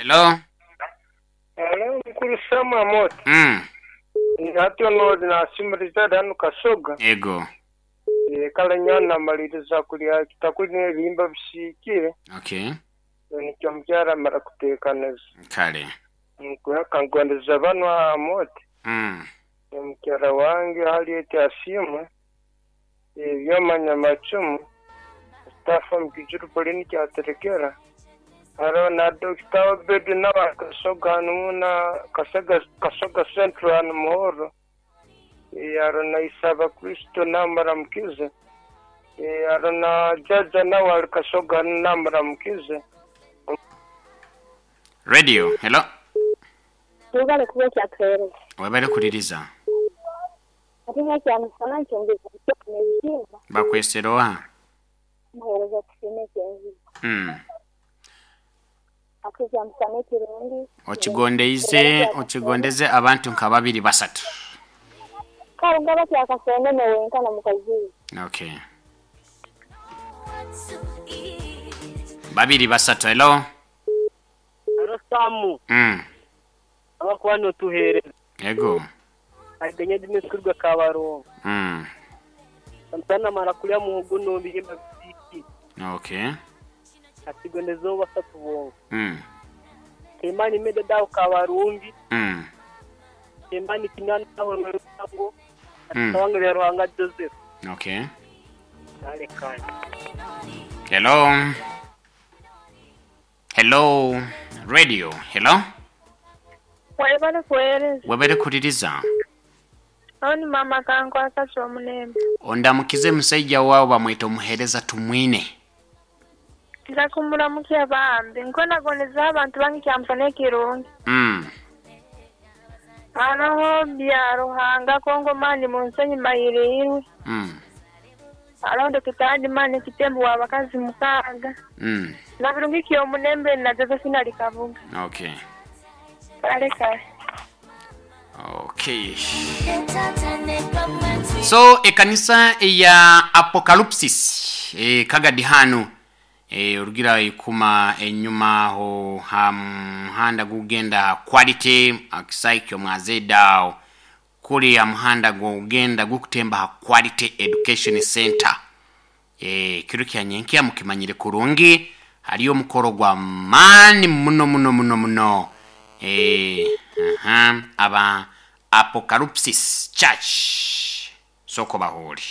Hello. Hello mukuru Sam Amooti. Hati ono nasiima Richard hanu Kasoga. Ego. Kale nyowe namaliriza kulya ekitakuli n'ebihimba bisiikire. Okay. Nikyo omukyara amara kuteekaniza. Kale. Nka ngondeza banu Amooti. Omukyara wange Harriet Asiimwe, Ebyoma Nyamacumu, Mustafa Mukijuru Pauline Kyaterekera, haroho na Dokita Obedi nawe ali Kasoga hanu na Kasoga Central hanu Muhoro, haroho na Isaba Kristo nawe muramukize, haroho na Jaja nawe ali Kasoga hanu nawe muramukize. Radio, hello. Webale kuba okyatuheereza. Webale kuliriza. Ate nga kyamusana nkyongeza n'ebihimba. Bakwesera oha? Muheereza tusiime ekyenzigo. Ate kyamusana ekirungi. Okigondeize, okigondeze abantu nka babiri basatu. Kale ngaba kyakasonene wenka na mukazi we. Okay. Babiri basatu, hello. Haro Samu. Abakuba notuheereza. Ego. Agenye Dimitri Kabarongo. Samusana namara kulya muhogo n'ebihimba bisiikire. Okay. Atigondezeho basatu bonka. Kemani Medada aho Kabarungi. Kemani Kinana aho Rwerusango. Ati Ruhanga Joseph. Okay. Kale kale. Hello. Hello. Radio. Hello. Webale kuweereza. Webale kuliriza. Aho ni mama kankwasa ky'omulembe. Ondamukize musaija waawe bamweta omuheereza Tumwine. Nza kumuramukya bambi. Nkonagoneza abantu bange kyamusana ekirungi. Haroho bya Ruhanga Kongo mani munsenyi mayiriirwe. Haroho Dokita Adi mani kitembo wa bakazi mukaaga. Na birungi ky'omulembe na Josephine ali Kabuga. Okay. Kale kale. Okay. So ekanisa eya Apocalypsis kagadi hanu orugira ikuma enyuma aho ha muhanda gugenda quality akisaikyo mwazedao kuli ya muhanda gugenda gukutemba ha Quality Education Center. Kiro kya nyenkia mukimanyire kurungi haliyo mukoro gwa mani muno muno muno muno. Aba Apocalypsis Church soko bahori.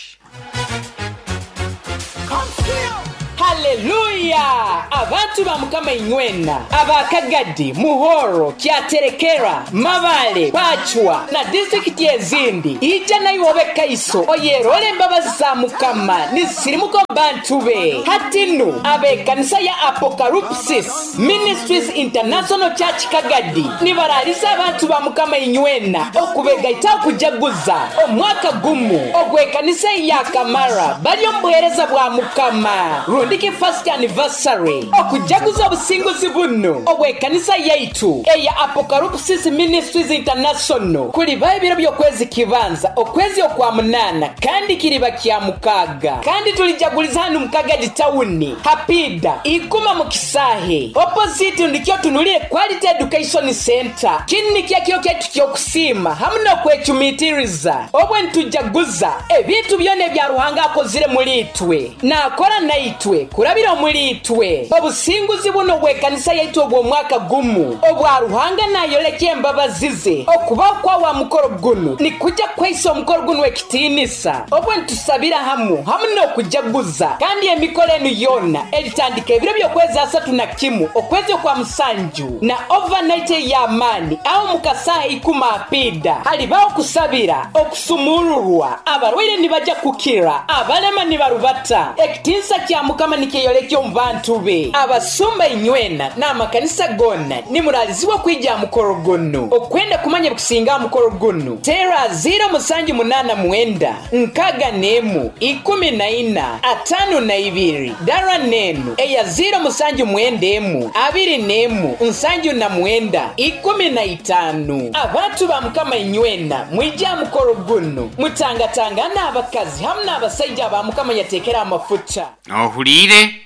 Haleluya! Abantu ba Mukama inywena abakagadi Muhoro Kyaterekera Mabale Pachwa na distrikiti ezindi ija nayo kaiso oyerole embabazi za Mukama nisirimuko bantu be hatinu abekanisa ya Apocalypsis Ministries International Church Kagadi nibaralisa abantu ba Mukama inywena okubegaita okujaguza omwaka gumu ogwekanisa ya Kamara bali omubuhereza bwa Mukama rundiki first anniversary okujaguza obusinguzi buno obwekanisa yaitu eya Apocalypsis Ministries International kuliba ebiro by'okwezi kibanza okwezi okwa munana kandi kiriba kya mukaga kandi tulijaguliza hanu Mukagadi tawuni hapida ikuma mukisahe opposite ndikyo tunulire Quality Education Center kinni kyakyo kyaitu kyokusima hamu n'okwecumitiriza obwe ntujaguza ebintu byona ebya Ruhanga akozire muri itwe nakora naitwe kurabira muri itwe obusinguzi buno bw'ekanisa yaitu obw'omwaka gumu obwa Ruhanga nayolekye embabazi ze okuba kwa wa mukoro guno ni kujja kweisa omukoro guno ekitiinisa obwe ntusabira hamu hamu n'okujaguza kandi emikoro enu yona eritandika ebiro by'okwezi asatu na kimu okwezi okwa musanju na overnight ey'amaani aho mukasaha ikuma apida halibaho okusabira okusumururwa abarwaire nibajja kukira abalema nibarubata ekitiinisa kya Mukama nikeyolekya omu bantu be abasumba inywena n'amakanisa gonna nimuralizibwa kwija mukoro guno okwenda kumanya bikusinga mukoro guno tera 0789 6 14 52 dara nenu eya 0791 21 79 15. Abantu ba Mukama inywena mwija mukoro guno mutangatanga n'abakazi hamu n'abasaija ba Mukama yatekera amafuta ohuliire.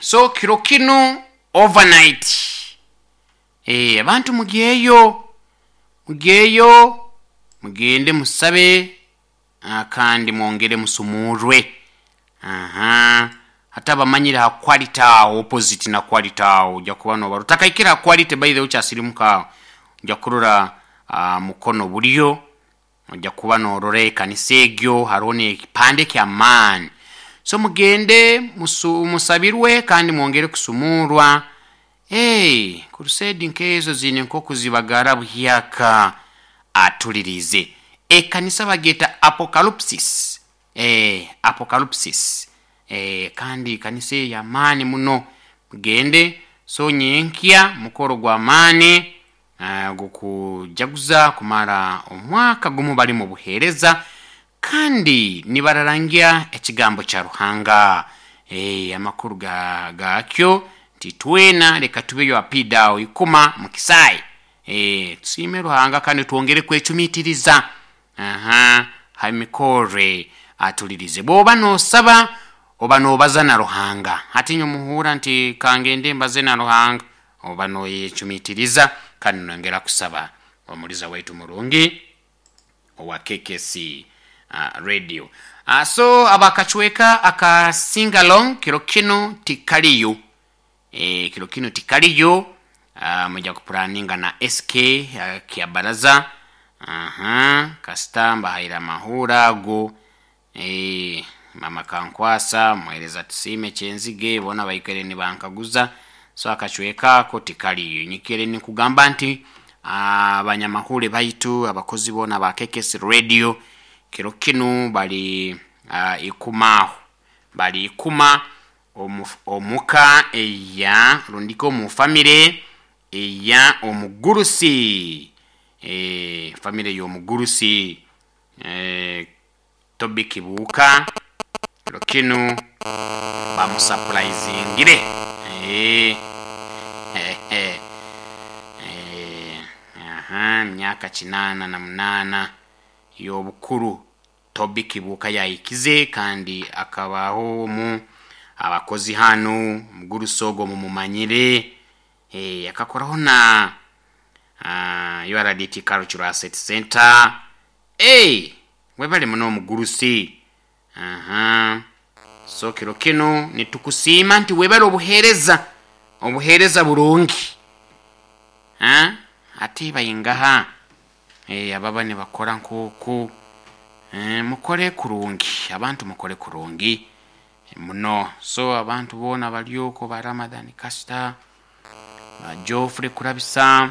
So kiro kino overnight Abantu mugeyo, mugeyo, mugende musabe, kandi mwongere musumurwe. Aha, hata abamanyire ha quality awo, opposite na quality awo, ojja kuba noba utakaikira ha quality, by the way ukyasirimuka awo ojja kurora mukono bulyo, ojja kuba norora ekanisa egyo, hariho n'ekipande ky'amaani. So mugende musabirwe kandi mwongere kusumurwa. Hey, crusade nkezo zine nk'okuzibagara buhyaka atulirize. Ekanisa bageta Apocalypsis. Apocalypsis. Kandi kanisa ey'amaani muno, mugende. So nyenkya mukoro gw'amaani gukujaguza kumara omwaka gumu bali mu buheereza kandi nibararangia ekigambo kya Ruhanga. Amakuru gakyo nti twena leka tubeyo apidawo ikuma mukisai. Tusiime Ruhanga kandi twongere kwecumitiriza aha hamikore atulirize. Bwoba nosaba oba nobaza na Ruhanga, hati nyomuhura nti kangende mbaze na Ruhanga, oba noyecumitiriza kandi nongera kusaba omuliza waitu murungi owa KKC radio. So abakachweka aka singalong kiro kino tikaliyo. Kiro kino tikaliyo. Muja kupuraninga na SK kia baraza. Aha, kasita mbahaira mahura ago. Mama kankwasa muhereza tusime kyenzige bona baikere ni bankaguza. So akachweka ako tikaliyo. Nyikere ni kugamba nti abanyamahule baitu abakozi bona ba KKC radio kiro kino bali ikumaho, bali ikuma omuka eya rundiko mu family eya omugurusi, family y'omugurusi Tobi Kibuuka. Kiro kino bamusapuraizingire. Aha, myaka 88 y'obukuru Tobi Kibuuka yayikize kandi akabaho mu abakozi hano mugurusi ogwo mumumanyire. Akakoraho na URDT Cultural Asset Center. Webale muno omugurusi. Aha, so kiro kino nitukusiima nti webale obuheereza, obuheereza burungi. Ate bayingaha ababa nibakora nk'oku. Mukore kurungi, abantu mukore kurungi muno. So abantu boona baryoko ba Ramadhan Kasita, ba Geoffrey Kurabisa,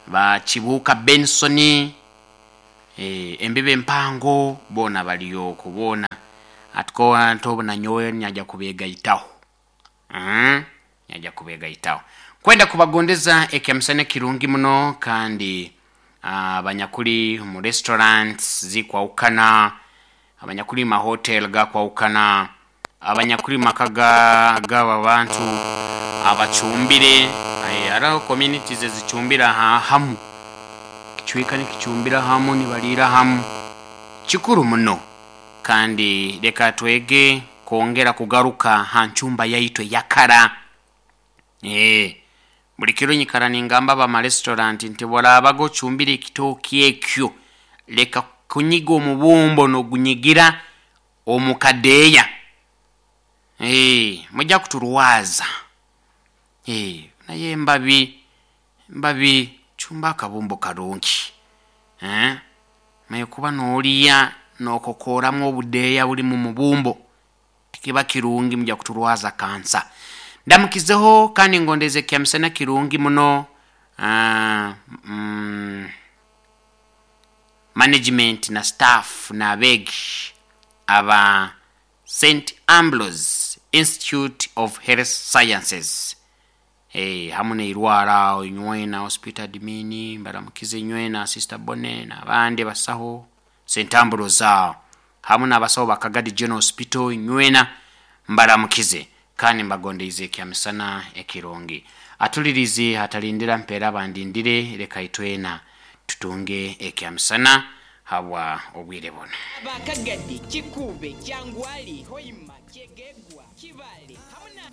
ba Kibuuka Benson, embibe empango boona baryoko boona. Atiko ntobona nyowe nyaja kubegaitaho. Nyaja kubegaitaho kwenda kubagondeza ekyamisana kirungi muno. Kandi abanyakuli mu restaurants zikwawukana, abanyakuli ma hotel gakwawukana, abanyakuli maka gaba bantu abacumbire. Hariho communities ezicumbira hamu, kichwika nikicumbira hamu, nibalira hamu, kikuru muno. Kandi leka twege kwongera kugaruka ha ncumba yaitu eyakara. Buli kiro nyikara ningamba aba restaurant nti borabaga ocumbire ekitooki ekyo, leka kunyiga omubumbo n'ogunyigira omukadeeya. Mujja kuturwaza. Naye mbabi cumba akabumbo karungi. Maye kuba n'oliya n'okokoramu obudeeya buli mu mubumbo tikiba kirungi, mujja kuturwaza kansa. Ndamukizeho kandi ngondeze kyamisana kirungi muno management na staff na abegi aba St Ambrose Institute of Health Sciences. Hamu neirwara inywena hospital admin mbaramukize inywena Sister Bonne n'abandi basaho St Ambrose aho hamu n'abasaho ba Kagadi General Hospital inywena mbaramukize kandi mbagondeize ekyamisana ekirungi. Atulirize hatalindira mpeera bandindire, leka itwena tutunge ekyamisana habwa obwire buno. Abakagadi, Kikube, Kyangwali, Hoima, Kyegegwa, Kibale, hamwe na